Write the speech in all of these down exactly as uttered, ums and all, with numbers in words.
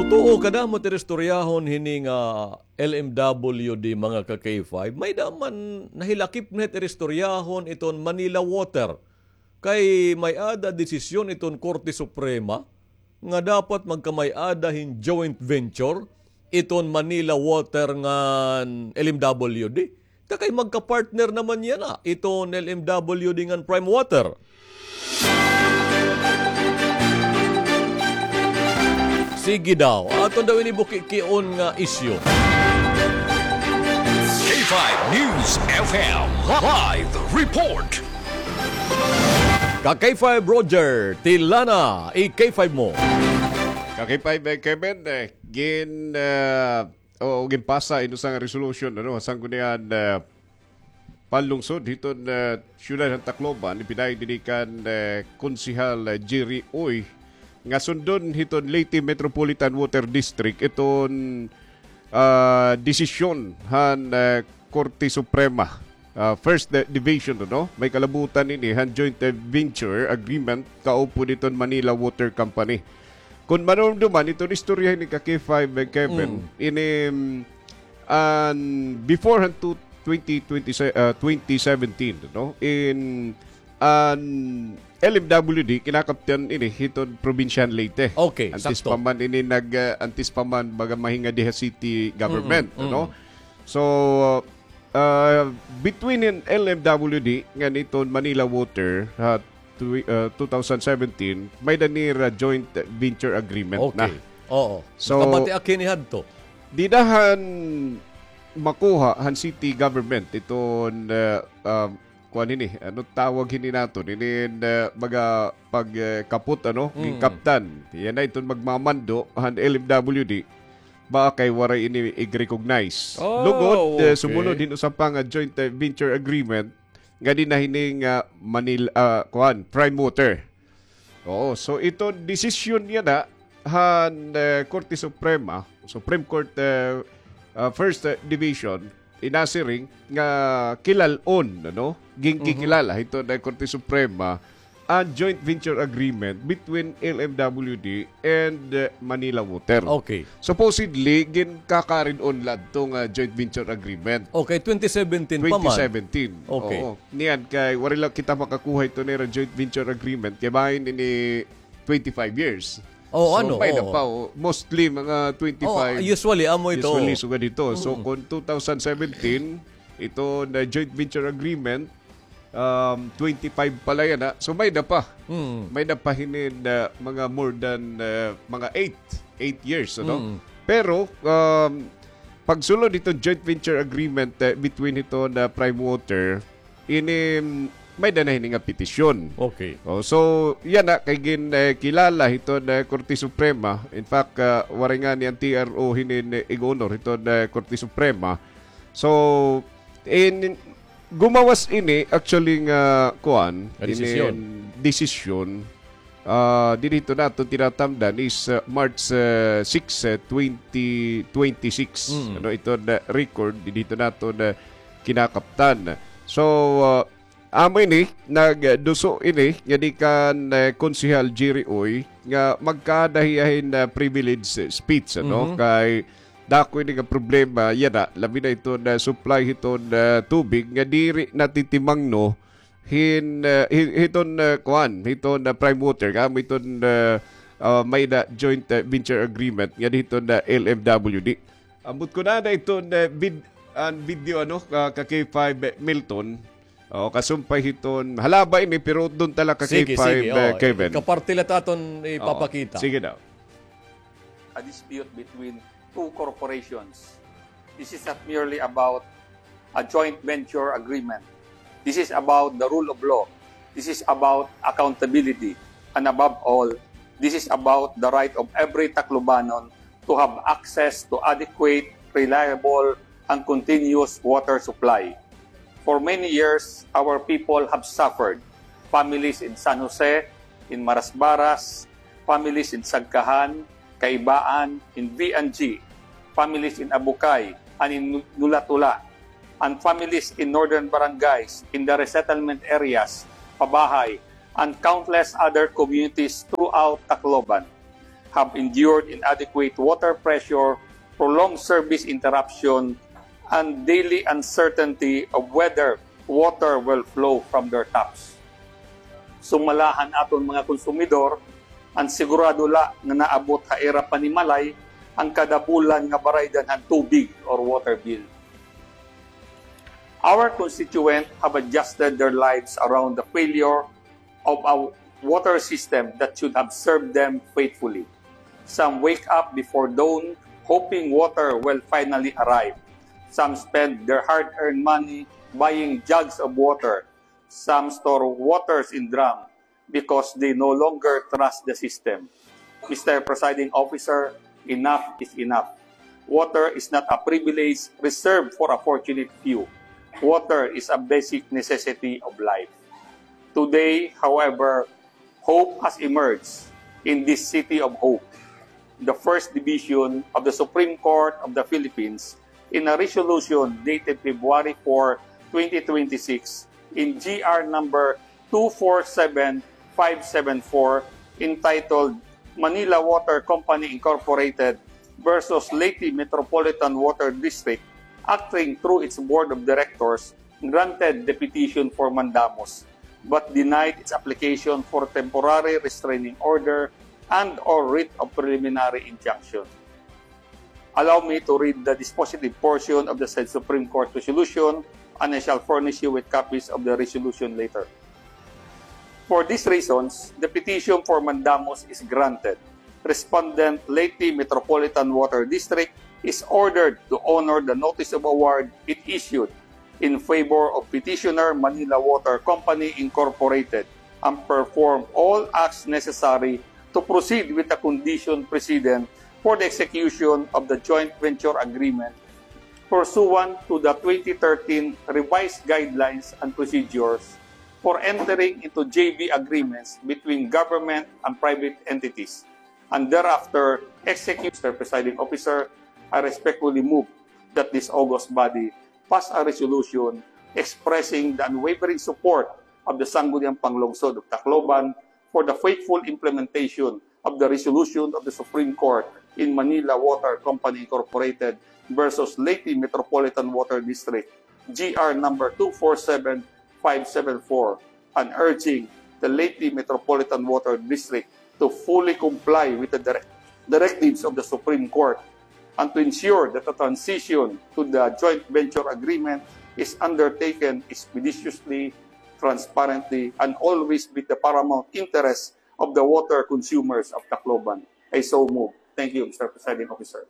Tuo, kadamo it iristoryahon hini nga L M W D, mga ka-K five. May-ada man nahilakip na it iristoryahon iton Manila Water. Kay may-ada desisyon iton Korte Suprema nga dapat magkamay-ada hin joint venture iton Manila Water ngan L M W D. Ta kay magka-partner naman yana iton L M W D ngan Prime Water. Sige daw, aton daw ini bukikion nga isyu. K five News F M live report. Ka K five Roger, tila na i K five mo. Ka K five, eh, Kevin, eh, gin, eh, o, ginpasa in usa nga resolution, ano, ha Sangguniang, eh, Panlungsod hiton, eh, siyudad han Tacloban, ipinaay dinhi kan, eh, Konsehal, eh, Jerry Uy, nga sundon hiton Leyte Metropolitan Water District iton, ah, desisyon han, eh, Korte Suprema, ah, First, eh, Division, ano? May kalabutan ini han joint, eh, venture agreement kaupod hiton Manila Water Company. Kon manumduman, iton istorya hini ka K five, eh, Kevin, Mm. ini, mm, an before han tu-, twenty twenty, ah, twenty seventeen, no? In an L M W D, kinakaptan ini hiton probinsya han Leyte. Okay, antes sakto. Pa man ini nag, ah, antes pa man baga mahingadi ha city government, Mm-mm, no? Mm. So, ah, between in L M W D ngan iton Manila Water, ha, twi-, ah, two thousand seventeen, may-ada nira joint venture agreement na. Okay. Oo. So, nakabati ak hini hadto. Dida han makuha han city government iton, ah, ah, kuan hini, ano tawag hini naton? Ini, ah, baga pag, eh, kapot, ano? Mm. Ginkaptan. Yana iton magmamando han L M W D. Baka kay waray ini ig-recognize. Oh, lugod, eh, okay. Sumunod hin usa pa nga joint, eh, venture agreement nga dinhi na hini nga Manila, ah, kuan, Prime Water. Oo, so iton desisyon yana han, eh, Korte Suprema, Supreme Court, eh, ah, First, eh, Division, inasiring nga kilal-on, ano? Ginkikilala hiton, eh, Korte Suprema an joint venture agreement between L M W D and, eh, Manila Water. Okay. Supposedly, ginkakarid-on la adto nga joint venture agreement. Okay, twenty seventeen pa man. Twenty seventeen. Okay. Oo. Niyan kay waray la kita makakuha ito nira joint venture agreement kay bahin ini twenty-five years. Oh, so, ano, may-ada pa, oh, mostly mga twenty-five. Oh, usually, amo ito. Usually, sugad ito. So, mm, kon two thousand seventeen, ito na joint venture agreement, um, twenty-five pala yana. So, may-ada pa. Mm. May-ada pa hini na mga more than, uh, mga eight, eight years, ano? Mm. Pero, um, pagsulod ito joint venture agreement, uh, between ito na Prime Water, ini, mm, may-ada na hini nga petisyon. Okay. Oh, so, yana, kay gin, eh, kilala hiton, eh, Korte Suprema. In fact, ah, waray ngani an T R O hini, eh, ig-honor hiton, eh, Korte Suprema. So, in, gumawas ini, actually, nga, kuan, nga desisyon. Ini, desisyon, ah, diri ito naton tinatamdan is, ah, March, ah, six, ah, twenty twenty-six. Mm. Ano, ito na record, diri ito naton na kinakaptan. So, ah, amo ini, nagduso ini, nga di kan, eh, Konsehal Jerry Uy, nga magkada hiya hin, ah, privilege speech, ano? Mhm. Kay dako ini nga problema, yana, labi na ito na supply hiton, ah, tubig, nga diri natitimangno, hin, ah, hi-, hiton, ah, kuan, hiton, ah, Prime Water, nga amo iton, ah, ah, may-ada joint, ah, venture agreement, nga hiton, ah, L M W D. Ambot ko na na iton, ah, vid-, an video, ano, ka, ka K five, eh, Milton. O, kasumpay hiton, halaba ini, pero doon tala ka K five, sige, sige, eh, oo, Kevin. Kaparte la ta aton ipapakita. Oo. Sige daw. A dispute between two corporations. This is not merely about a joint venture agreement. This is about the rule of law. This is about accountability. And above all, this is about the right of every Taclobanon to have access to adequate, reliable, and continuous water supply. For many years, our people have suffered. Families in San Jose, in Marasbaras, families in Sagkahan, Kaibaan, in V and G, families in Abucay, and in Nulatula, and families in northern barangays, in the resettlement areas, Pabahay, and countless other communities throughout Tacloban. have endured inadequate water pressure, prolonged service interruption, and daily uncertainty of whether water will flow from their taps. Sumala han aton mga konsumidor, an sigurado la nga naabot ha ira panimalay an kada bulan nga baraydan han tubig or water bill. Our constituent have adjusted their lives around the failure of a water system that should have served them faithfully. Some wake up before dawn hoping water will finally arrive. Some spend their hard-earned money buying jugs of water. Some store waters in drum because they no longer trust the system. Mister Presiding Officer, enough is enough. Water is not a privilege reserved for a fortunate few. Water is a basic necessity of life. Today, however, hope has emerged in this city of hope. The First Division of the Supreme Court of the Philippines, in a resolution dated February four, twenty twenty-six, in G R number two four seven five seven four, entitled Manila Water Company Incorporated versus Leyte Metropolitan Water District, acting through its board of directors, granted the petition for mandamus, but denied its application for temporary restraining order and or writ of preliminary injunction. Allow me to read the dispositive portion of the said Supreme Court resolution, and I shall furnish you with copies of the resolution later. For these reasons, the petition for mandamus is granted. Respondent, Leyte Metropolitan Water District, is ordered to honor the notice of award it issued in favor of petitioner, Manila Water Company Incorporated, and perform all acts necessary to proceed with the condition precedent for the execution of the joint venture agreement pursuant to the twenty thirteen Revised Guidelines and Procedures for entering into J V agreements between government and private entities, and thereafter execute. Mister Presiding Officer, I respectfully move that this august body pass a resolution expressing the unwavering support of the Sangguniang Panglungsod of Tacloban for the faithful implementation of the resolution of the Supreme Court in Manila Water Company Incorporated versus Leyte Metropolitan Water District, G R number two four seven five seven four, and urging the Leyte Metropolitan Water District to fully comply with the direct-, directives of the Supreme Court and to ensure that the transition to the joint venture agreement is undertaken expeditiously, transparently, and always with the paramount interest of the water consumers of Tacloban. I so move. Thank you, Mister Presiding Officer.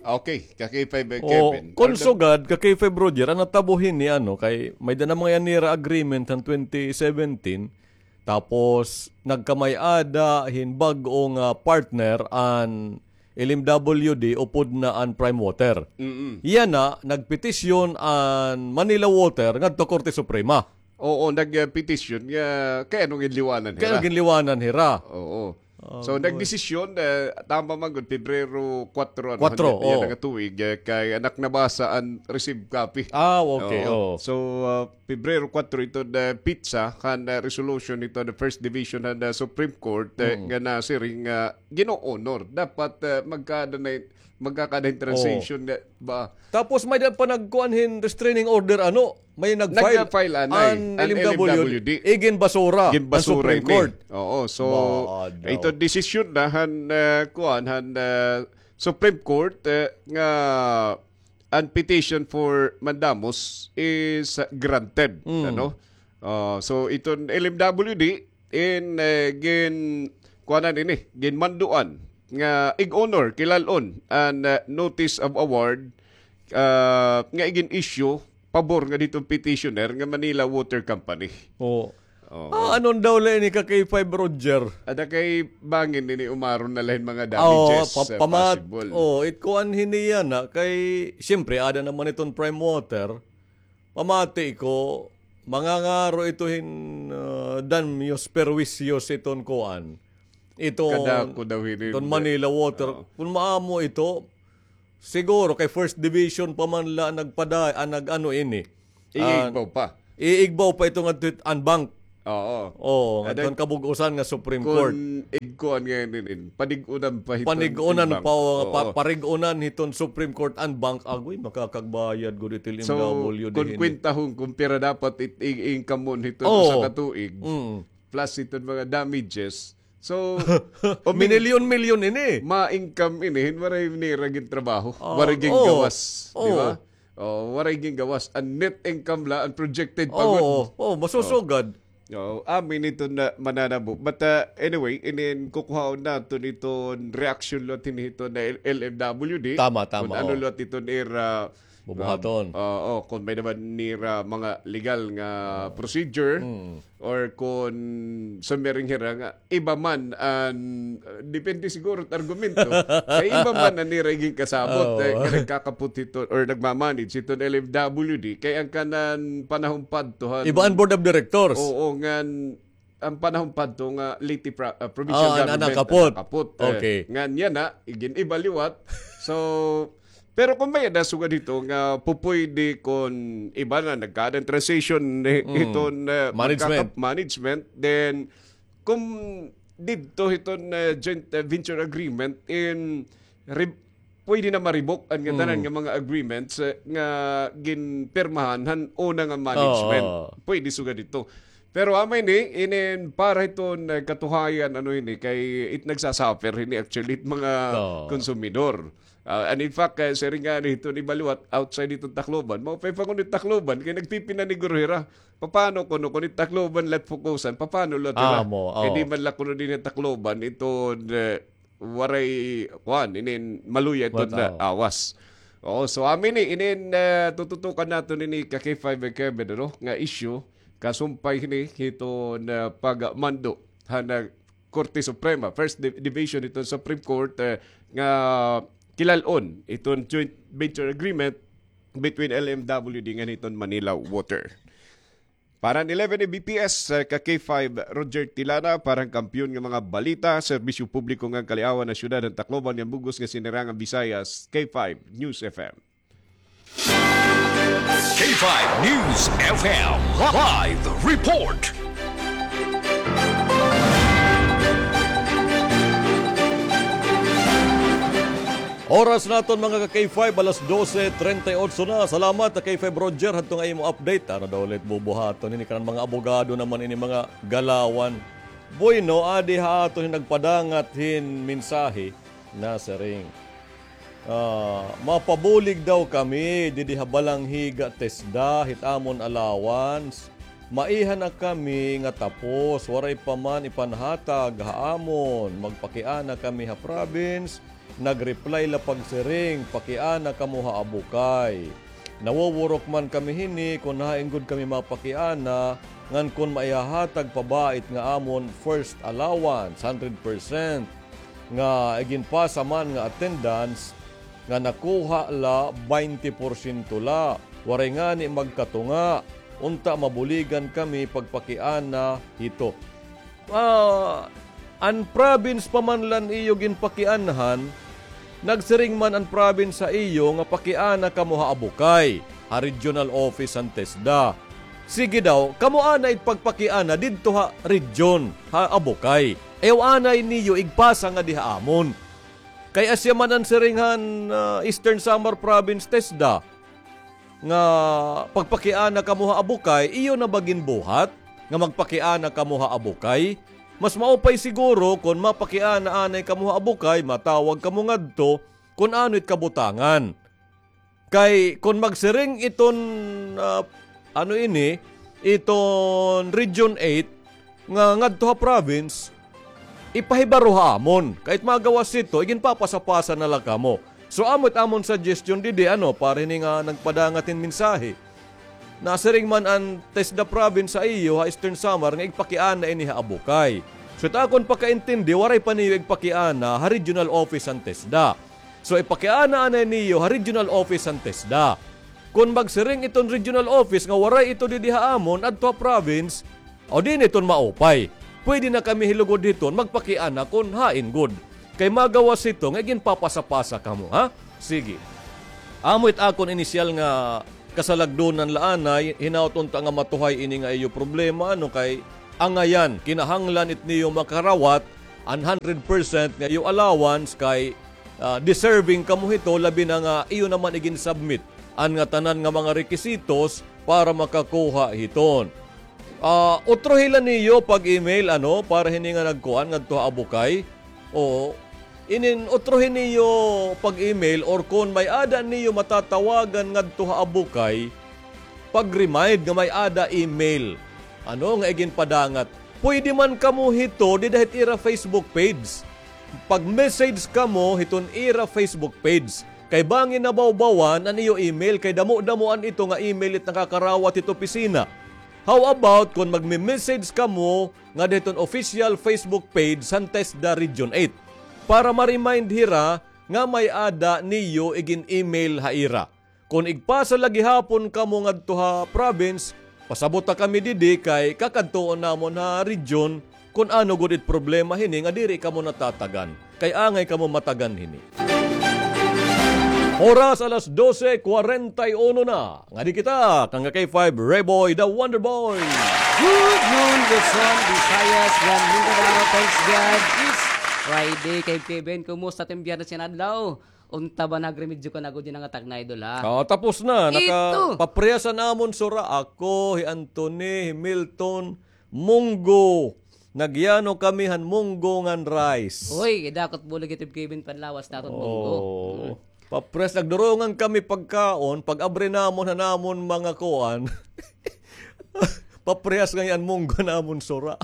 Okay, ka K five, eh, Kevin. Kon sugad, ka K five Roger, an natabo hini, ano, kay may-ada na man nira agreement han twenty seventeen, tapos nagkamay-ada hin bag-o nga partner an L M W D upod na an Prime Water. Mm-mm. Yana, nagpetisyon an Manila Water ngadto Korte Suprema. Oo, nag, ah, petisyon nga kay ano ginliwanan hira. Kay ano ginliwanan hira. Oo. So, nagdesisyon, eh, tama man gud, Pebrero kuwatro, ano, kuwatro, yana nga tuig, eh, kay anak nabasa an received copy. Ah, okay, oo. So, ah, Pebrero kuwatro ito, the petsa han, ah, resolution ito, the First Division han, ah, Supreme Court, eh, nga nasiring nga gin-o-honor. Dapat, ah, magkaada na, magkakaada hin transition nga ba? Tapos may-ada pa nagkuan hin restraining order, ano? May nag-file, nag-file anay an L M W D. Iginbasura han Supreme Court. Oo, so ito desisyon na han, ah, kuan, han, ah, Supreme Court, eh, nga an petition for mandamus is, ah, granted, ano? Ah, so iton L M W D, in, eh, gin-, kuanan ini, ginmanduan nga ig-honor, kilal-on an, eh, notice of award, ah, nga igin-issue pabor nga diton petitioner nga Manila Water Company. Oo. Ah, ano daw la ini ka K five Roger? Ada kay bangin ini umaron na la hin mga damages, eh, possible. Oo, it kuan hini yana kay, siyempre, ada naman iton Prime Water. Pamati ko, mangangaro ito hin, ah, daños perjuicios iton kuan. Iton, kadako daw hini, iton Manila Water. Oo. Kon maamo ito, siguro kay first division pa man la nagpada-, ah, nag-ano ini. Iigbaw pa. Iigbaw pa ito ngadto hit en banc. Oo. Oo, ngadto han kabug-usan nga Supreme Court. Kon igkuan nga inin, panig-unan pa hiton Panig-unan pa, pa-, parig-unan hiton Supreme Court an bank. Agoy, makakagbayad gud it L M W D hini. So, kon kwentahon kon pira dapat it-, i-, income mo hiton usa ka tuig, plus hiton mga damages. So, o, minilyon-milyon ini. Ma-income ini hin waray nira gintrabaho, waray gingawas, di ba? Oh, waray gingawas. An net income la an projected pa gud. Oh, masusugad. Oh, amin iton na mananabo. But, uh, anyway, inin kukuhaon naton iton reaksyon liwat hini hiton L-, L M W D. Tama, tama, kon ano liwat iton ira bubuhaton. Oo, kon may-ada man nira mga legal nga procedure, or kon sumiring hira nga iba man an, uh, depende siguro it argumento. Kay iba man an nira iginkasabot, eh, nga nagkakapot hiton or nagmamanage hiton L M W D. Kay an kanan panahon pa adto han iba an board of directors. Oo, ngan an panahon pa adto nga Leyte pro-, uh, provincial government an nakapot. Okay. Ngan yana, igin-iba liwat. So, pero kon may-ada sugad hito nga pupuyde kon iba na nagkaada hin transition hiton, uh, management, then kon didto hiton, uh, joint, uh, venture agreement in re-, pwede na ma-revoke an ngatanan nga mga agreements, uh, nga ginpirmahan han una nga management. Pwede sugad didto. Pero amo ini, inin para hiton, uh, katuhayan, ano ini, kay it nagsasuffer ini actually it mga konsumidor. Ah, and in fact, eh, siring ngani hiton iba liwat, outside hiton Tacloban, maupay pa kuno it Tacloban, kay nagpipinaniguro hira. Papano kuno, kon it Tacloban la it fokusan, papano liwat hira? Kay di man la kuno dinhi ha Tacloban, iton, eh, waray, kuan, inin maluya iton awas. Oo, so, amo ini, inin, eh, tututukan naton ini ka K five, eh, Kevin, ano, nga issue, kasumpay hini hiton, eh, pagmando han, eh, Korte Suprema, First Div-, Division iton Supreme Court, eh, nga kilal-on iton joint venture agreement between L M W D ngan hiton Manila Water. Para han eleven A B P S, eh, ka K five, Roger Tilana, para han Kampiyon nga mga Balita, Serbisyo Publiko ngan Kaliawan han Syudad han Tacloban ngan bug-os nga Sinirangan Visayas, K five News F M. K five News F M live report. Oras naton, mga ka K five, alas dose treinta y ocho na. Salamat, K five Roger, hadto nga imo update. Ano daw ulit bubuhaton ini kanan mga abogado naman ini, mga galawan. Bueno, adi ha aton hin nagpadangat hin mensahe. Nasiring, ah, mapabulig daw kami didi ha Balangiga, TESDA, hit amon allowance. Maiha na kami nga tapos, waray pa man ipanhatag ha amon. Magpakiana kami ha province. Nag-reply la pagsiring, pakiana kamo ha Abukay. Nawuwurok man kami hini kon hain gud kami mapakiana, ngan kon maihahatag pa ba it nga amon first allowance, hundred percent, nga iginpasa man nga attendance, nga nakuha la, baynte porsyento la. Waray ngani magkatunga, unta mabuligan kami pagpakiana hito. Ah, an province pa man la an iyo ginpakianhan, nagsiring man an province ha iyo nga pakiana kamo ha Abukay, ha regional office han TESDA. Sige daw, kamo anay pagpakiana didto ha region, ha Abukay. Ayaw anay niyo igpasa ngadi ha amon. Kay asya man an siring han, ah, Eastern Samar Province TESDA, nga pagpakiana kamo ha Abukay, iyo na ba ginbuhat nga magpakiana kamo ha Abukay? Mas maupay siguro kon mapakiana anay kamo ha Abukay, matawag kamo ngadto kon ano it kabutangan. Kay kon magsiring iton, ah, ano ini, iton Region eight, nga ngadto ha province, ipahibaro ha amon. Kay it magawas hito, iginpapasa-pasa na la kamo. So, amo it amon suggestion didi, ano, para hini nga nagpadangat hin mensahe. Nasiring man an TESDA province ha iyo, ha Eastern Samar, nga igpakiana ini ha Abukay. So, it akon pakaintindi, waray pa niyo igpakiana ha regional office han TESDA. So, ipakiana anay niyo ha regional office han TESDA. Kon magsiring iton regional office nga waray ito didi ha amon, adto ha province, o, diri iton maupay. Pwede na kami hilugod hiton magpakiana kon hain gud. Kay magawas hito nga iginpapasa-pasa kamo, ha? Sige. Amo it akon inisyal nga kasalagdonan la anay, hinaot unta nga matuhay ini nga iyo problema, ano, kay angayan, kinahanglan it niyo makarawat an hundred percent nga iyo allowance kay, ah, deserving kamo hito, labi na nga iyo naman igin-submit an ngatanan nga mga rekisitos para makakuha hiton. Ah, utrohi la niyo pag-email, ano, para hini nga nagkuan ngadto ha Abukay. Oo. Inin utrohi niyo pag-email or kon may-ada niyo matatawagan ngadto ha Abukay, pag-remind nga may-ada email. Ano nga iginpadangat. Pwede man kamo hito dida hit ira Facebook page. Pag-message kamo hiton ira Facebook page. Kay bangin nabawbawan an iyo email kay damo-damoan ito nga email it nakakarawat hit opisina. How about kon magme-message kamo ngada hiton official Facebook page han TESDA Region eight para ma-remind hira nga may-ada niyo igin-email ha ira. Kon igpasa la gihapon kamo ngadto ha province, pasabota kami didi kay kakadtuon namon ha region kon ano gud it problema hini nga diri kamo natatagan. Kay angay kamo matagan hini. Oras alas dose kwarenta y uno na. Ngadi kita, kang K five, Reboy, the Wonder Boy. Good noon, Luzon, Visayas, and Mindanao. Thanks God, it's Friday. Kay Kevin, kumusta it im Biyernes nga adlaw? Unta ba nagremedyo ka na gud yana nga takna, idol, ha? Ah, tapos na. Ito. Nakapapriyas an amon sura. Ako, hi Anthony, hi Milton, munggo. Nagyano kami han munggo ngan rice. Uy, kay dako it bulig it im Kevin panlawas naton munggo. Oo. Mm. Papriyas, nagdurungan kami pagkaon, pag-abri namon han amon mga kuan. Papriyas ngay-an munggo han amon sura.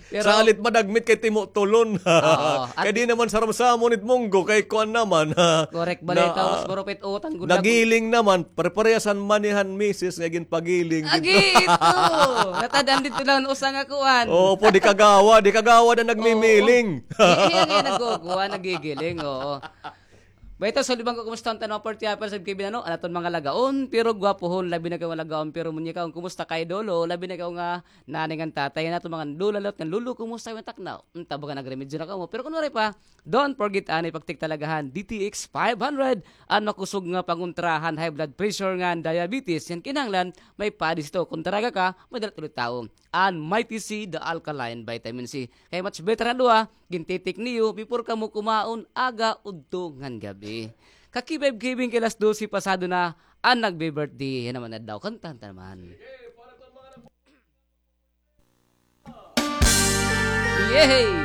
Pero salit madagmit kay timo tulon. Oo. Kay di naman saramsamon it munggo kay kuan naman, ha. Correct, balita, mas gurupit utang gud. Nagiling naman, pareparehas han mani han misis nga ginpagiling. Agi ito. Natad-an didto la an usa nga kuan. Oo, po, di kagawad, di kagawad an nagmimiling. Oo. Iya nga nagkukuan, nagigiling, oo. Bayta, sulod man ko, kumusta an tanan, Party Apple, sa Kevin, ano, an aton mga lagaon, pero gwapohon, labi na kay mga lagaon, pero munyakaon, kumusta kay Dolo, labi na kay nga nanay ngan tatay, an aton mga lola, lolo, ngan lolo, kumusta kay takna? Unta ba nagremedyo na kamo? Pero kun waray pa, don't forget, anay pagtiktalagahan, D T X five hundred, an makusog nga pangontra han high blood pressure ngan diabetes, ngan kinahanglan, may padis ito. Kun taraga ka, may dala it tawo. An Mighty C, the alkaline vitamin C. Kay much better an duha, gintitik niyo, before kamo kumaon, aga, udto, ngan gab-i. Kakibay Kevin kay alas dose pasado na, an nagbe-birthday, yana man adlaw, kantahan ta naman. Yay!